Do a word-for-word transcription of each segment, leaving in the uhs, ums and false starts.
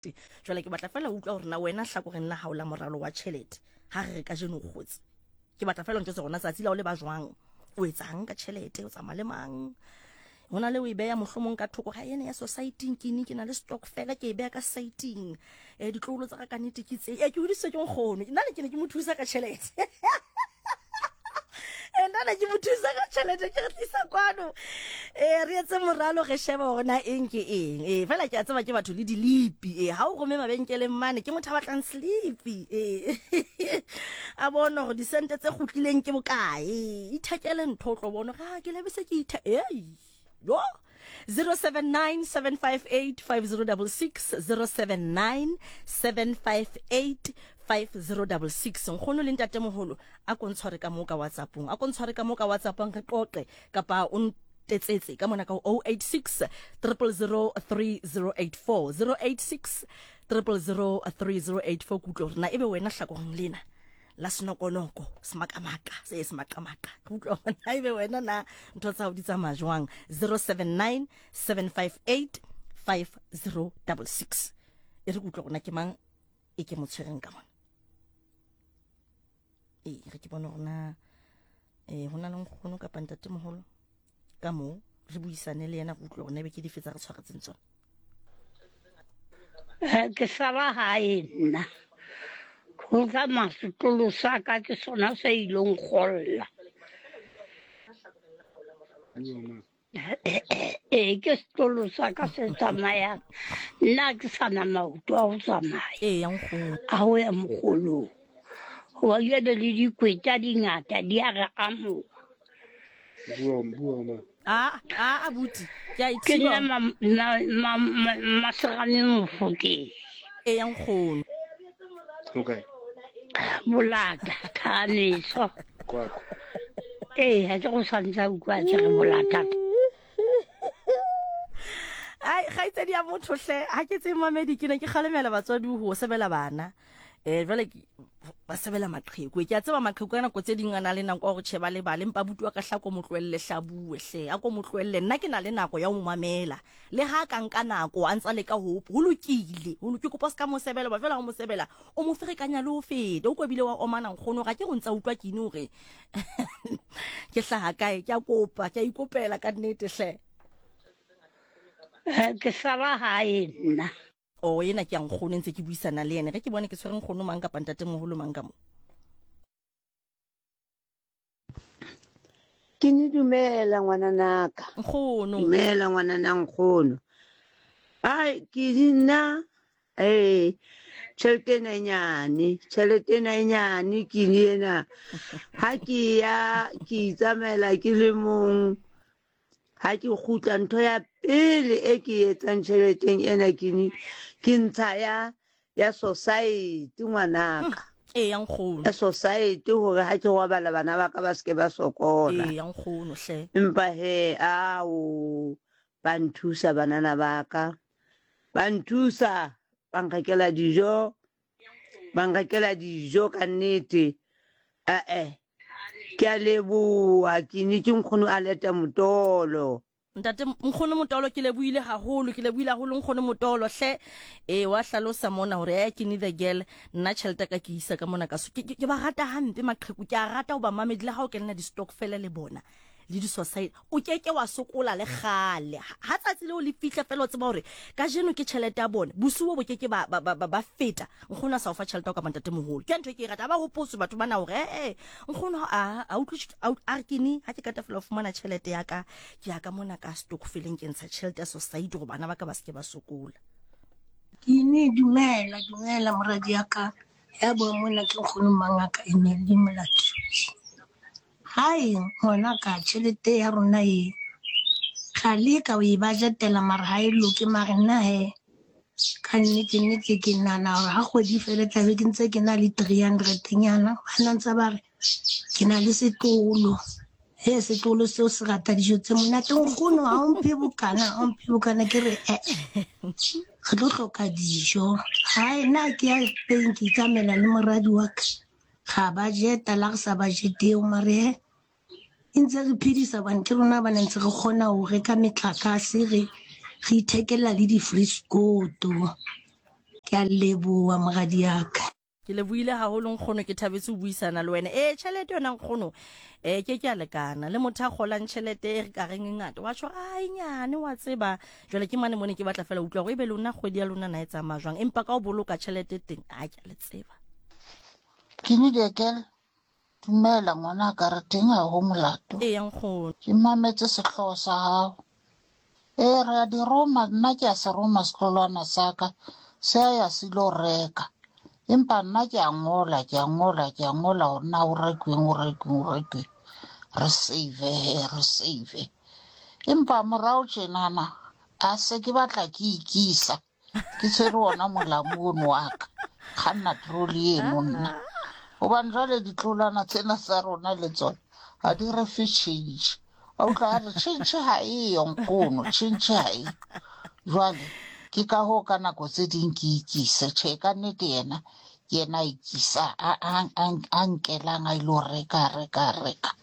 Jwale ke batla fela ho utlwa hore na wena hlakoreng la hao la moralo wa tjhelete, ha re re kajeno o kgotse, ke batla fela o ntjwetse hore na tsatsi la o le ba jwang, o etsang ka tjhelete, o tsamaya le mang, ho na le o e beha mohlomong ka thoko ga ena ya society-ing, ke ne ke na le stokvel, ke e beha ka society-ing, um ditloholo tsa ka ka nnete ke tse, ee ke hodisitswe ke nkgono, nna ne ke ne ke mo thusa ka tjhelete. Nna ne ke mo thusa ka tjhelete, ke re tlisa kwano, um re etse moralo, re shebe hore na eng ke eng. Ee, fela ke a tseba ke batho le dilipi. Ee, ha o rome mabenkeleng mane, ke motho a batlang slipi. Ee, a bone hore disente tse kgutlileng ke bokae, ithekele ntho, o tlo bona hore ha ke lebese ke ithe ei yo. Zero seven nine seven five eight five zero double six, zero seven nine seven five eight five zero double six. Nkgono le ntatemoholo, a ko ntshware ka moo ka WhatsAppong, a ko ntshware ka moo ka WhatsAppong, re qoqe, kapa o ntetsetse ka mona ka oh eight six triple zero three zero eight four, zero eight six triple zero three zero eight four. Ke utlwe hore na ebe wena hlakoreng lena la senokonoko, semakamaka se semaqamaqa, ke utlwa hore na ebe wena na ntho tsa hao di tsamaya jwang. Zero seven nine seven five eight five zero double six. E re ke utlwe hore na ke mang e ke mo tshwereng ka mona. Ee, re ke bone hore na eh ho na le nkgono kapa ntatemoholo ka moo, re buisane le yena, re utlwe hore na ebe ke dife tsa re tshwaretseng tsona. Ke sala hae nna, ho tsamaya setlolo sa ka ke sona se ilong kgolla. Ee, ke setlolo sa ka se tsamayang, nna ke sa na maoto a ho tsamaya. Ee, ya nkgono. A ho ya mokgolong, hoba jwale le dikweta di ngata di a re amoha. Bua, bua ma. A, a, abuti, ke a e Ke thiba. nna ma-, ma-, ma-, ma-, Maserame Mofokeng. Ee, ya nkgono. Okay. Bolata, Thaneso. Kwakwa. Ee, ha ke go santse a utlwa ke re bolata. Ai, kgaitsedi ya motho hle, ha ke tsebe mamedi, ke ne ke kgalemela batswadi ho sebela bana. Eh, jwale ke ba sebela maqheku. Ke a tseba maqheku ka nako tse ding a na le nako ya hore tjhe ba lebale, empa abuti wa ka hle a ko mo tlohelle hle a bue hle, a ko mo tlohelle. Nna ke na le nako ya ho mo mamela. Le ha ka nka nako a ntsa leka ho, ho lokile, ho lokile. Ke kopa o ska mo sebela, hoba jwale ha o mo sebela, o mo ferekanya le ho feta. O ko bile wa omana nkgono, ga ke go ntsa utlwa ke eng hore ke hlaha kae. Ke a kopa, ke a ikopela ka nnete hle. Eh, ke sala hae nna. O ena ke ya nkgono, ntse ke buisana le yena. Ge ke bone ke tshwere nkgono mang kapa ntatemoholo mang ka mo. Ke ne dumela ngwananaka. Nkgono. Dumela ngwanana nkgono. Ai, ke nna, eh, tjhelete ena e nyane, tjhelete ena e nyane ke ena. Ha ke ya, ke itsamaela ke le mong. Ha ke kgutla, ntho ya pele e ke e etsang tjheleteng ena ke ne, ke ntsha ya, ya society ngwanaka. Ee, ya nkgono. Ya society hore ha ke robala bana ba ka ba se ke ba sokola. Ee, ya nkgono hle. Empa he, ao, ba nthusa banana ba ka. Ba nthusa, ba nrekela dijo, ba nrekela dijo ka nnete. Eh-eh. Ke a leboha, ke ne ke nkgono a leta Motolo. Ntate nkgono Motolo, ke lebohile haholo, ke lebohile haholo nkgono Motolo hle. Eh, wa hlalosa mona hore eh ke need a girl, nna tjhelete ka ke isa ka mona ka so. Ke, ke, ke ba rata hampe maqheku, ke a rata ho ba mamedi le ha o kenela di-stokvel le bona le di-society, o ke ke wa sokola le kgale. Ha tsatsi leo le fihla fela o tseba hore kajeno ke tjhelete ya bona, bosiu bo ke ke ba, ba, ba, ba, ba feta. Nkgono a sa o fa tjhelete ya ho kapa ntatemoholo. Ke ntho e ke e ratang. Ha ba hopotswe batho bana hore, eh, eh, nkgono ha a, a utlwe tjh-, a ut-, a re ke ne, ha ke qeta fela ho fumana tjhelete ya ka, ke ya ka mona ka stokveleng, ke ntsha tjhelete ya society hore bana ba ka ba se ke ba sokola. Ke ne dumela, dumela moradi ya ka. Ya bua mona ke nkgono mangaka e ne le Molato. Hae ngwana ka tjhelete ya rona e ga leka o e budgetela mara ha e loke, mara nna he ka nnete nnete ke nahana hore ha kgwedi e fela tlabe ke ntse ke na le three hundred nyana. Ba ntse ba re ke na le setlolo, he setlolo seo se rata dijo tse monate. Nkgono ha o mphe bokana, ha o mphe bokana, ke re eh, re tlo hloka dijo. Hae nna ke ya teng ke itsamaela le moradi wa ka, ga budgeta la re sa budgeteo, mare he e ntse re phedisa hobane ke rona ba ne ntse re kgona ho reka metlakase, re, re ithekela le di-friscoto. Ke a leboha moradi ya ka. Ke lebohile haholo nkgono, ke thabetse ho buisana le wena. Ee, tjhelete yona nkgono um ke ke a lekana le motho a kgolang tjhelete e re ka reng e ngata, wa tjho a e nyane wa tseba. Jwale ke mane mone ke batla fela utlwa hore ebe lona kgwedi ya lona na e tsamaya jwang, empa ka ho boloka tjhelete teng a ke a le tseba. Kini Dekel, dumela ngwanaka, re teng ha ho molato. Ee nkgono. Ke mametse sehlooho sa hao. Ee, re a di roma, nna ke a se roma setlolwana sa ka, se a ya se ilo reka. Empa nna ke a ngola, ke a ngola, ke a ngola hore na ho rekweng, ho rekweng, ho rekweng. Re save he, re save. Empa morao tjenana, a se ke batla ke ikisa. Ke tshwere ona molamu ono wa ka. Kganna trolley eno nna. Hobane jwale ditlolwana tsena tsa rona le tsona ha di re fe tjhentjhe. Wa utlwa a re tjhentjhe ha eyo nkgono, tjhentjhe ha eyo. Jwale ke ka hoo ka nako tse ding ke ikise. Tjhe, ka nnete yena ke yena a ikisa, a a a nkelang a ilo reka, reka, reka.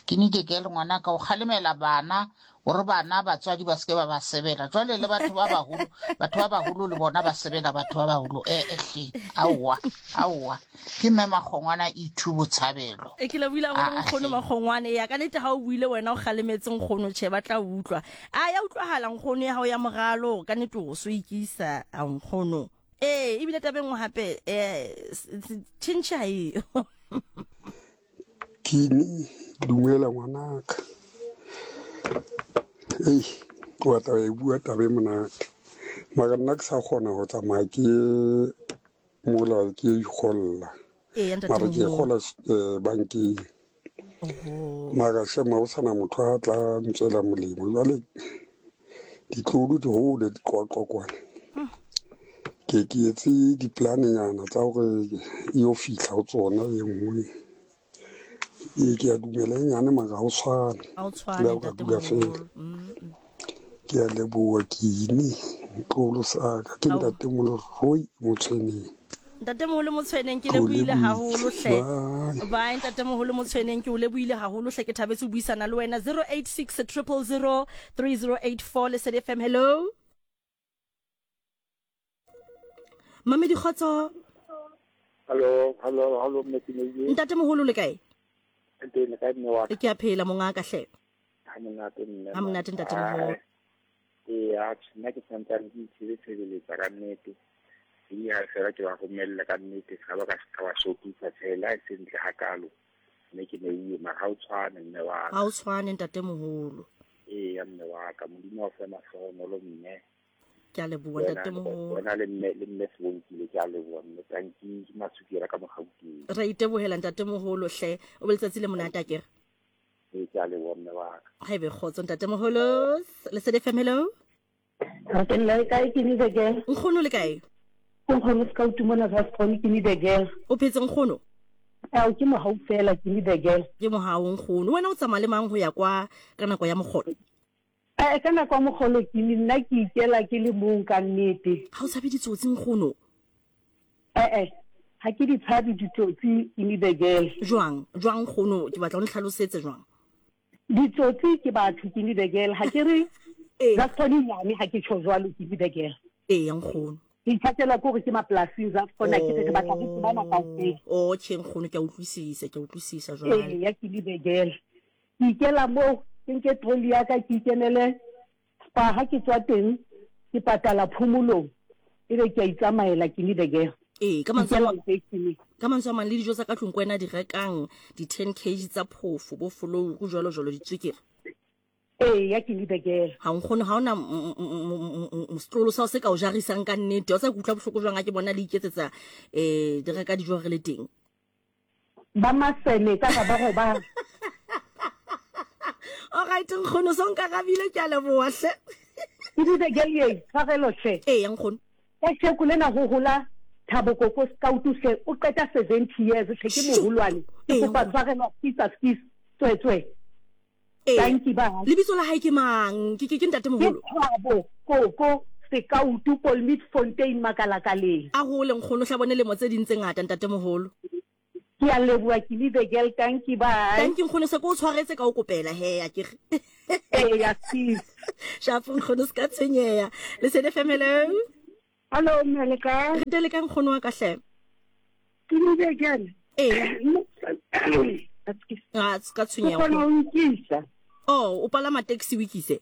Ke nnete ke le ngwanaka o kgalemela bana hore bana batswadi ba seke ba ba sebela. Jwale le batho ba baholo, batho ba baholo le bona ba sebela batho ba baholo. Eh eh hle, aowa, aowa. Ke mme Makgongwana E two Botshabelo. E ke lebohile haholo nkgono Makgongwane. Ya ka nnete ha o buile wena o kgalemetse nkgono, tjhe ba tla utlwa. A ya utlwahala nkgono ya hao ya moralo, ka nnete o so ikisa a nkgono. Ee, ebile taba e nngwe hape eh tjhentjhe ha eyo. Kini, dumela ngwanaka. Ei, wa taba e bua taba e monate. Mara nna ke sa kgona ho tsamaya ke mola ke ikgolla. Ee, ntate Mara ke moholo. kgola eh, bankeng. Mara shema ho sana motho a tla ntswela molemo. Jwale ditlolo di hole di qoqwa kwana. Ke ke etse di-plan-nyana tsa hore e yo fihla ho tsona e nngwe. Ee, ke a dumela e nyane mara ha o tshwane. Ha o tshwane Le ha o ka ntate dula feela. moholo. Mm. Ke a leboha Kini, ntloholo sa ka. Ke Ao. ntatemoholo Roy Motshweneng. Ntatemoholo Motshweneng, ke Ke o lebohile lebohile. haholo hle. Bye. Bye ntatemoholo Motshweneng, ke o lebohile haholo hle, ke thabetse ho buisana le wena. zero eight six triple zero three zero eight four Lesedi F M, hello. Mamedi Kgotso. Hello, hello, hello, mme Kineye. Ntatemoholo le kae? Teng le kae mme wa ka? Ke a phela mongaka hle. Ha monate mme. Ha monate ntatemoholo. Ee, atjhe, nna ke santsane ke itshebe tshebeletsa ka nnete. Ke ha fela ke ba romella ka nnete, se ka ba ka se ka ba shopisa tjhe, le ha e se ntle hakalo. Mme ke neuwe, mara ha o tshwane mme wa ka. Ha o tshwane ntatemoholo. Ee, ya mme wa ka, Modimo wa fe mahlohonolo mme. Ke a leboha Wena ntatemoholo. wena le mme le mme Sebonkile, ke a leboha mme. Tanki ke Masukela ka Mogauteng. Re itebohela ntatemoholo hle. O be letsatsi le monate akere. Ee, ke a leboha mme wa ka. Ha ebe kgotso ntatemoholo. Lesedi F M, hello. Ke nna le kae, Kini the girl? Nkgono le kae? Nkgono se ka utumona za Skhoni, Kini the girl. O phetse nkgono? Ao, ke mohau fela, Kini the girl. Ke mohau nkgono. Wena o tsamaya le mang ho ya kwa ka nako ya mokgolo? Eh, ka nako ya mokgolo Kini, nna ke ikela ke le mong ka nnete. Ha o tshabe ditsotsi nkgono? Eh, eh, ha ke di tshabe ditsotsi, Kini the girl. Jwang? Jwang nkgono? Ke batla o ntlhalosetse jwang? Ditsotsi ke batho, Kini the girl. Ha ke re Ee. za Skhoni nyane, ha ke tjho jwalo, Kini the girl. Ee, nkgono. Ke ithatela ke hore ke mapolasing za Skhoni, ke re batla ho tsebana kaofela. Oh, tjhe nkgono, ke a utlwisisa, ke a utlwisisa jwale. Ee, ya Kini the girl. Ke ikela moo, ke nke trolley ya ka, ke ikenele spa. Ha ke tswa teng, ke patala phomolong, ebe ke a itsamaela, Kini the girl. Ee, ka mantswe a Ikela mang- lekeisheneng. ka mantswe a mang le dijo tsa ka tlung ko wena di rekang, di ten kg tsa phofo, bo folouru jwalo jwalo, ditswekere. Ee, ya Kini the girl. Ha nkgono, ha ona m- m- m- m- setlolo sa o se ka o jarisang ka nnete. Wa tseba ke utlwa bohloko jwang ha ke bona le iketsetsa eh di reka dijo re le teng. Ba masene ka ga ba go ba. All right nkgono, so nkarabile, ke a leboha hle. Kini the girl ye, tshwarelo hle. Ee, nkgono. Ka tjheko lena ho hola Thabo Koko Scout hle, o qeta seventy years hle, ke moholwane. Ke Ee, kopa nkgono. tshwarelo, skisa, skis, tswe tswe. Ee. Thank you, bye. Lebitso la hae ke mang? Ke ke ke ntatemoholo? Ke Thabo Koko Scout, Polmeet Fontein, Makalakaleng. A hole nkgono, hla bone lemo tse ding tse ngata ntatemoholo. Ke a leboha, Kini the girl, thank you, bye. Thank you nkgono, se ke o tshwaretse ka o kopela he, a ke re. Ee, ya sis. Shapo nkgono, se ka tshwenyeha. Lesedi F M, hello. Hallo mme le kae? Re teng le kae nkgono wa ka hle? Ke le jana. Ee. Ah, ka tshwenyeho. Ke kgona ho ikisa. Oh, o palama taxi o ikise?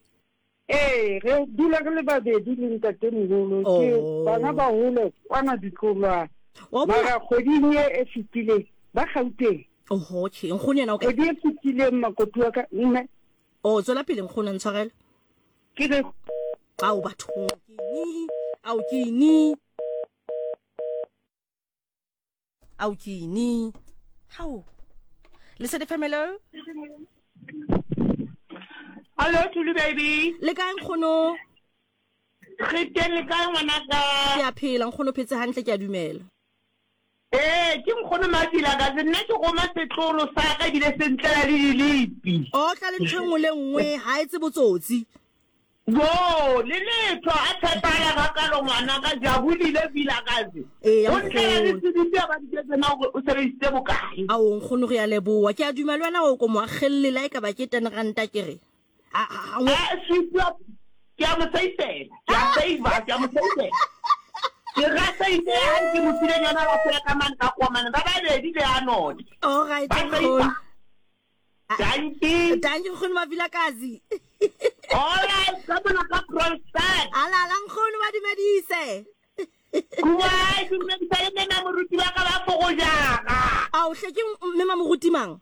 Ee, re dula re le babedi le ntatemoholo. Ke bana ba hole kwana ditlolwana. Mara kgweding e e fetileng ba Gauteng. Oho, okay. Nkgono yena o kae? Kgwedi e fetileng makoti wa ka mme. Oh, tswela pele nkgono ntshwarele. Ke re ao batho ke ni, ao ke ni. Ao ke ni. Hao. Lesedi Family. Hello Tulu baby. Le kae nkgono? Re teng le kae ngwanaka? Ke a phela nkgono, phetse hantle ke a dumela. Eh, ke nkgono Mafila ka se nna ke roma setlolo sa ka ebile se ntlela le dilipi. O tla le ntho e nngwe le nngwe, ha e tse botsotsi. Bo, le letho a tshepala ka kalo ngwana ka jabulile Vilakazi. Ee, O ntlela le seditse ba diketse na hore o sebedisitse bokae. Ao nkgono re a leboha. Ke a dumela wena o ko mo akgelle la e ka ba ke ten ranta ke re. A a a swipe ke a mo saifela. Ke a save, ke a mo saifela. Ke ra save ha ke mo fileng yona ba fela ka man ka kwa man ba babedi le a none. All right. Thank you. Thank you nkgono Mavilakazi. All right, ka bona ka Kroonstad. Ala la nkgono ba dumedise. Kuai, dumedisa le mme moruti ba ka ba fogojaka. Ao hle ke mme moruti mang?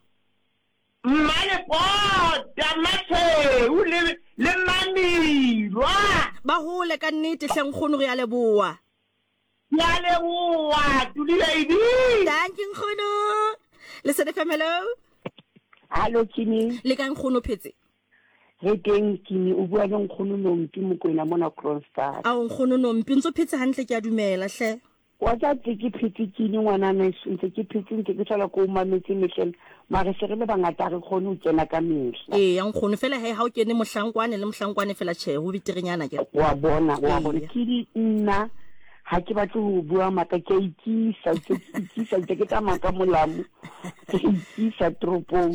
Mmane pota Mathe le le Mamilwa. Ba hole ka nnete hle nkgono re a leboha. Ke a leboha, Tuli baby. Thank you nkgono. Lesedi Family. Hallo Kini. Le kae nkgono phetse? Re teng Kini, o bua le nkgono Nompi Mokoena mona Kroonstad. Ao nkgono Nompi, ntso phetse hantle ke a dumela hle. Wa tsa tse ke phetse Kini ngwana meso, ntse ke phetse ntse ke sala ko mametse mehleng, mare se re le bangata re kgone ho kena ka mehla. Ee, ya nkgono fela he ha o kene mohlankwane le mohlankwane fela tjhe, ho beterenyana ke. Wa bona, wa bona Kini nna ha ke batle ho bua maka ke a ikisa, ke ikisa ntse ke tsamaya ka molamu, ke ikisa toropong,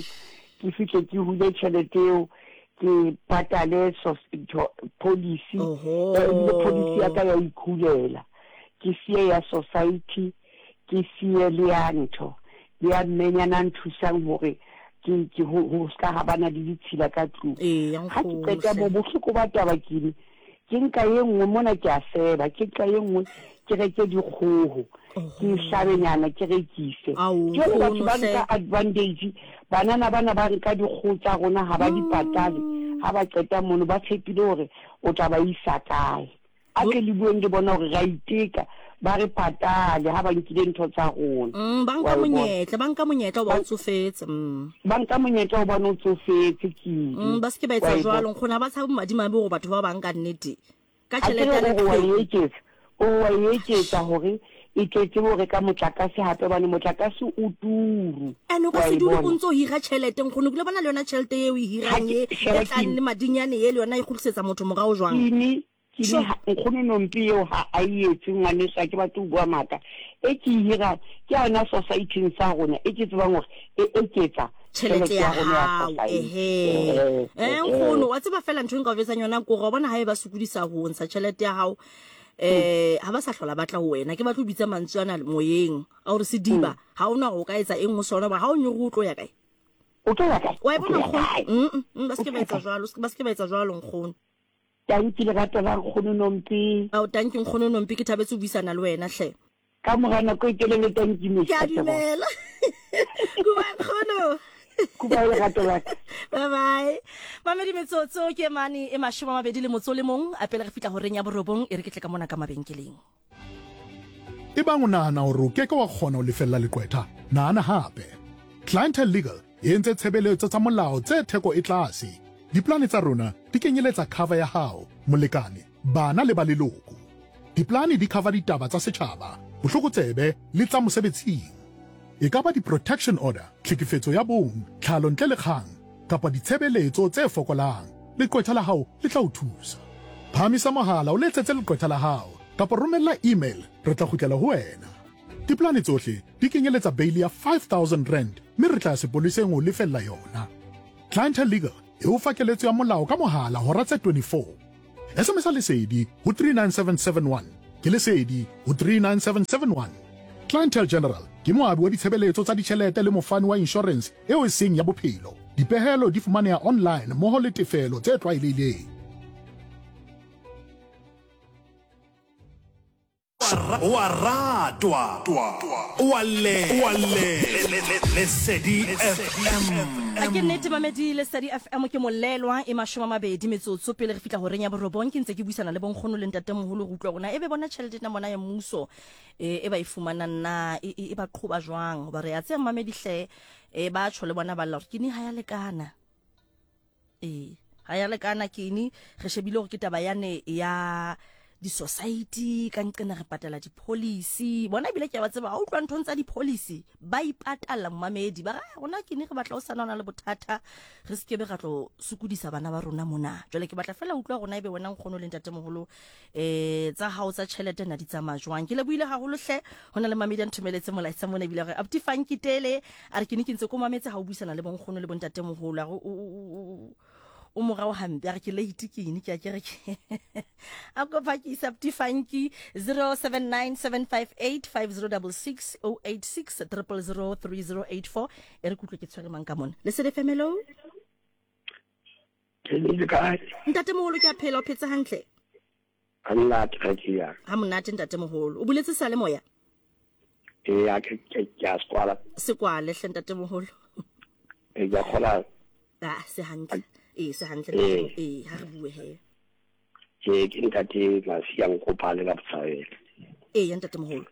ke fihle ke hule tjhelete eo, ke patale policy, ebile policy ya ka ya ikhulela. Ke siye ya society, ke siye le ya ntho, le ya mmenyana nthusang hore ke ke ho ska ha bana le ditshila ka tlung. Ha ke qeta bo bohloko ba taba kini, ke nka e nngwe mona ke a seba, ke nka e nngwe ke reke dikgoho, ke hlabenyana ke rekise. Jwale batho ba nka advantage, banana bana ba nka dikgoho tsa rona ha ba di patale, ha ba qeta mono ba tshepile hore o tla ba isa kae. A ke le bueng le bona hore ra iteka, ba re patale ha ba nkile ntho tsa rona. Mm, ba nka monyetla, ba nka monyetla o ba o tsofetse. Mm. Ba nka monyetla o ba o tsofetse Kini. Mm, ba se ke ba etsa jwalo nkgono, ha ba tshabe madimabe hore batho ba bang ka nnete. Ka tjhelete ya le eketsa. O wa eketsa hore e tletse hore ka motlakase hape bane motlakase o turu. Ene o ka se dule o ntso hira tjhelete nkgono, ke le bona le yona tjhelete eo e hirang e e tlang le madinyane e le yona e kgutlisetsa motho morao jwang. Kini Kini nkgono Nompi eo ha a etse ngwaneso, ha ke batle ho bua maka. E ke e hirang ke yona society-eng sa rona e ke tsebang hore e eketsa tjhelete ya hao. Ehe. Eh nkgono, wa tseba fela ntho e nka o jwetsang yona ke hore wa bona ha e ba sokodisa ho ntsha tjhelete ya hao, eh ha ba sa hlola batla ho wena. Ke batla ho bitsa mantswe ana moyeng a hore sediba ha ona hore o ka etsa eng ho sona, ba ha o nyore o tlo ya kae? O tlo ya kae? Wa e bona nkgono? Mm, ba se ke ba etsa jwalo, ba se ke ba etsa jwalo nkgono. Thank you lerato la nkgono Nompi. Ao thank you nkgono Nompi, ke thabetse ho buisana le wena hle. Ka mora nako e telele thank you. Ke a dumela. Kuba nkgono. Kuba lerato la ka. Bye bye. Mamedi metsotso ke mane e mashome a mabedi le motso le mong, a pele re fitla horeng ya borobong e re ke tle ka mona ka mabenkeleng. E bang o nahana hore o ke ke wa kgona ho lefella leqwetha, nahana hape. Clientele Legal e entse tshebeletso tsa molao tse theko e tlase. Diplane tsa rona di kenyeletsa cover ya hao, molekane, bana le ba leloko. Diplane di cover ditaba tsa setjhaba, bohlokotsebe le tsa mosebetsing. E ka ba di-protection order, tlhekefetso ya bong, tlhalo ntle le kgang, kapa ditshebeletso tse fokolang. Leqwetha la hao le tla o thusa. Phahamisa mohala o letsetse leqwetha la hao, kapa romella email, re tla kgutlela ho wena. Diplane tsohle di kenyeletsa bail ya five thousand rand, mme re tla ya sepoleseng ho lefella yona. Clientele Legal e o fa keletso ya molao ka mohala hora tse twenty-four. S M S lesedi ho three nine seven seven one ke Lesedi ho three nine seven seven one. Clientele General ke moabi wa ditshebeletso tsa ditjhelete le mofani wa insurance eo e seng ya bophelo. Dipehelo di fumaneha online mmoho le tefelo tse tlwaelehileng. Wa ratwa, wa le, wa le, Lesedi F M. A ke nnete mamedi Lesedi F M ke molelwa e mashome a mabedi metsotso pele re fihla horeng ya borobong. Ke ntse ke buisana le bonkgono le ntatemoholo go utlwa rona ebe bona tjhelete ena bona ya mmuso e e ba e fumanang na e e ba qhoba jwang, hoba re a tseba mamedi hle e ba tjho le bona ba lla hore kini ha ya lekana. Eh ha ya lekana kini re shebile hore ke taba yane ya di-society ka nqena re patala di-policy bona ebile ke a ba tseba ha utlwa nthong tsa di-policy ba ipatalla momamedi ba re rona ke ne re batla o sana ona le bothata re sekebe ra tlo sokodisa bana ba rona mona. Jwale ke batla fela utlwa rona ebe wena nkgono le ntatemoholo eh tsa hao tsa tjhelete na di tsamaya jwang. Ke lebohile haholo hle hona le mamedi a nthomeletse molaetsa mona ebile re Abuti Funky Tele a re ke ne ke ntse ko mametse ha o buisana le bonkgono le bontatemoholo a re o morao hampe a re ke late ke eng ke a ke re ke a kopa ke isa Abuti Funky zero seven nine seven five eight five zero six six oh eight six triple zero three zero eight four. E re kutlwe ke tshwere mang ka mona Lesedi F M. Hello. Ke le kae ntatemoholo? Ke a phela, o phetse hantle? Nna ke ke ya ha monate ntatemoholo. O buletse sa le moya? E ya ke ke a sekwala sekwale hle ntatemoholo. E ya khola ah se hantle e se hantle e ha re bue he. Ke ke ntate Masia Nkopane ka Botshabelo. E ya ntatemoholo.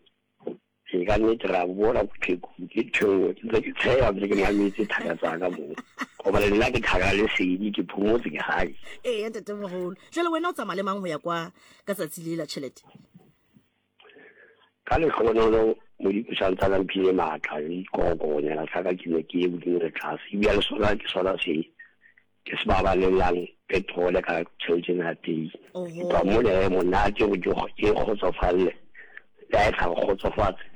Ke ka nnete ra bona bopheko ke tshwenngwe ke ntse ke tsheya ntse ke mametse thaka tsa ka moo. Hobane nna ke thaka Lesedi ke phomotse ke hae. E ya ntatemoholo. Jwale wena o tsamaya le mang ho ya kwa ka tsatsi le la tjhelete? Ka lehlohonolo Modimo o sa ntse a mphile matla le dikokonyana tsa ka ke ne ke ye hodimo le tlase. Ebile le sona ke sona se ke se babalellang petrol ka tjhelete ena teng. Ka mona e monate go ke kgotsofalle. Le ha e sa kgotsofatse.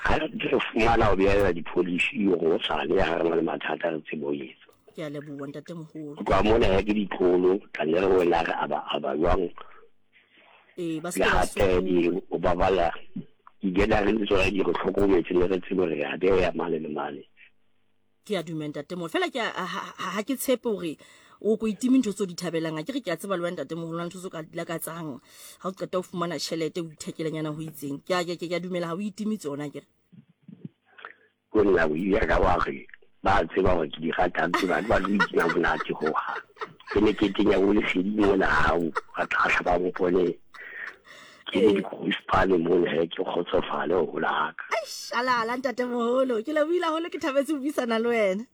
Ha re fumana ho beela di-policy hore o sale ha re na le mathata re tsebe ho etsa. Ke a leboha ntatemoholo. Ka mona ke ditlolo tla ne re wena re aba aba jwang. Eh ba se ba se o babala di-gathering le tsona di re hlokometse le re tsebe re a beya mane le mane. Ke a dumela ntatemoholo. Fela ke ha ke tshepe hore o ko itime ntho tseo di thabelang. A ke re ke a tseba le wena ntatemoholo ntho tseo ka di lakatsang ha o qeta ho fumana tjhelete o ithekelenyana ho itseng. Ke a ke ke a dumela ha o itime tsona ke re. Ko nna o ile ka wa re ba tseba hore ke di ratang tse ba ba di itima monate ho ha. Ke ne ke tenya o Lesedi mona hao ba tla ba mpone. Ke di go mona he ke kgotsofale ho laka. Shalala ntatemoholo ke lebohile haholo ke thabetse ho buisana le wena.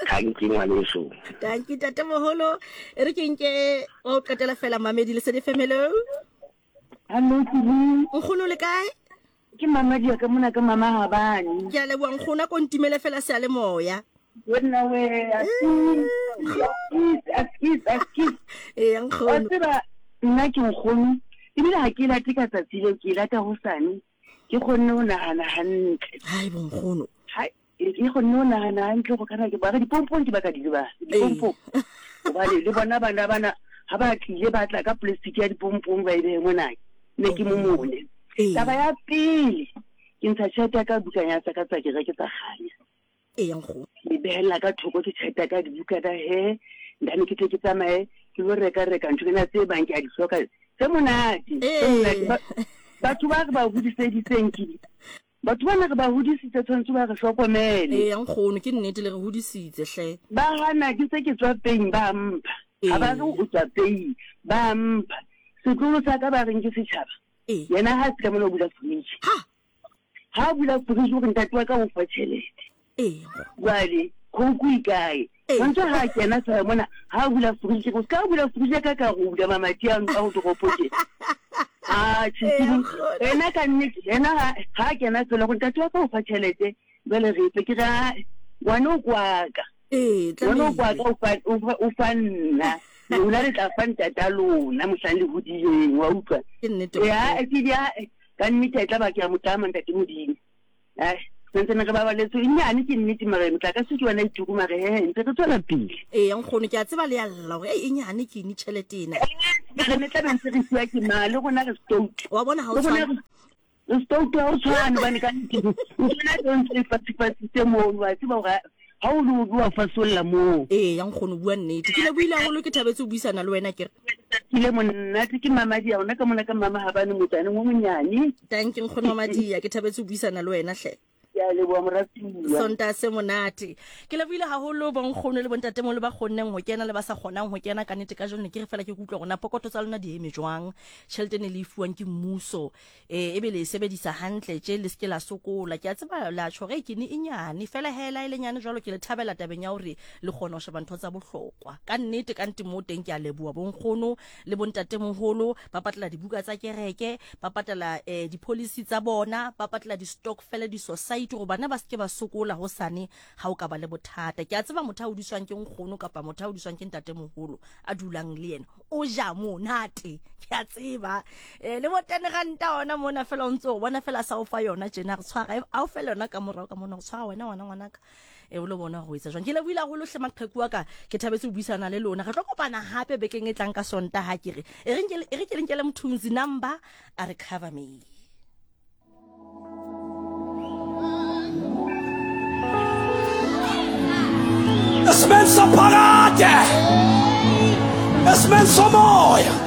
Thank you ngwaneso. Thank you ntatemoholo. E re ke nke o qetela fela mamedi Lesedi F M. Hello. Hello Kini. Nkgono le kae? Ke mama di ka mona ka mama Habane. Ke a leboha nkgono ko ntimele fela se a le moya. Wena we askis askis askis. Eh nkgono. Wa tseba nna ke nkgono ebile ha ke late ka tsatsi leo ke lata hosane ke kgonne ho nahana hantle. Hai bo nkgono. Hai ke kgonne ho nahana hantle go kana ke ba re dipompong ke ba ka di ba dipompong. Hobane le bona bana bana ha ba tlile ba tla ka plastic ya dipompong ba e behe mona ne ke momone. Taba ya pele ke ntsha tjhelete ya ka bukana tsa ka tsa kereke tsa kganya. E nkgono. Ke behella ka thoko ke tjhelete ya ka dibukana he ndane ke tle ke tsamaye ke lo reka reka ntho tsena tse bang ke a di hloka. Tse monate, tse monate. Batho ba re ba hodiseditseng ke batho bana re ba hodisitse tshwanetse ba re hlokomele. Eh nkgono ke nnete le re hodisitse hle. Ba hana ke se ke tswa peng ba mpha. Ha ba re o tswa peng ba mpha. Setlolo sa ka ba reng ke setjhaba. Yena ha se ka mona o bula fridge. Ha ha bula fridge o re ntate wa ka o fa tjhelete. Eh jwale khouku e kae? Tshwanetse ha kena tsaya mona ha bula fridge o ska bula fridge ka ka go bula mamati a a go toropo tje. Ah tjhe ena ka nnete ena ha kena tsela go ntate wa ka o fa tjhelete jwale re ipe ke ra ngwana o kwaka. Eh ngwana o kwaka o fa o fa nna lona le tla fa ntata lona mohlang le hodileng wa utlwa. Ke nnete. Ya ke dia ka nnete e tla ba ke a motlama ntate Modimo. Ai Santsane re babaletse e nyane ke nnete mare motlakase ke yona e turu mare he ntse re tswela pele. Ee nkgono ke a tseba le ya lla hore e nyane ke ni tjhelete ena. Re ne tla be ntse re fiwa ke ma le rona re stout. Wa bona ha o tshwana. Re stout ha o tshwane hobane ka nnete ntho ena e ntse e fatsifatsitse mono wa tseba hore ha o le o bua fasolla moo. Ee nkgono bua nnete. Ke le buile haholo ke thabetse ho buisana le wena ke re. Ke le monate ke Mamadia ona ka mona ka mama ha bane motsaneng o monyane. Thank you nkgono Mamadia ke thabetse ho buisana le wena hle. Ya leboha moratuwa. Sonta se monate. Ke lebohile haholo bonkgono le bontatemoholo ba kgonneng ho kena le ba sa kgonang ho kena ka nnete ka jeno ke re fela ke kutlwa rona pokoto tsa lona di eme jwang. Tjhelete ne le e fuwang ke mmuso eh ebe le e sebedisa hantle tje le seke la sokola. Ke a tseba la tjho re ke ne e nyane fela hela e le nyane jwalo ke le thabela tabeng ya hore le kgona ho sheba ntho tsa bohlokwa. Ka nnete ka nnete mo teng ke a leboha bonkgono le bontatemoholo ba patala dibuka tsa kereke, ba patala eh di-policy tsa bona, ba patala di-stokvel di-society gore bana ba seke ba sokola ho sane ha o ka ba le bothata. Ke a tseba motho a hodiswang ke nkgono kapa motho a hodiswang ke ntatemoholo a dulang le yena o ja monate. Ke a tseba eh le bo ten ranta ona mona fela o ntse o bona fela sa o fa yona tjena re tshwara a o fela yona ka morao ka mona o tshwara wena ngwana ngwanaka e o lo bona ho etsa jwang. Ke lebohile haholo hle maqheku wa ka ke thabetse ho buisana le lona. Re tlo kopana hape bekeng e tlang ka Sontaha ha ke re e re nke e re ke le Mthunzi number a re cover me. Esimeni saphakade, esimeni somoya.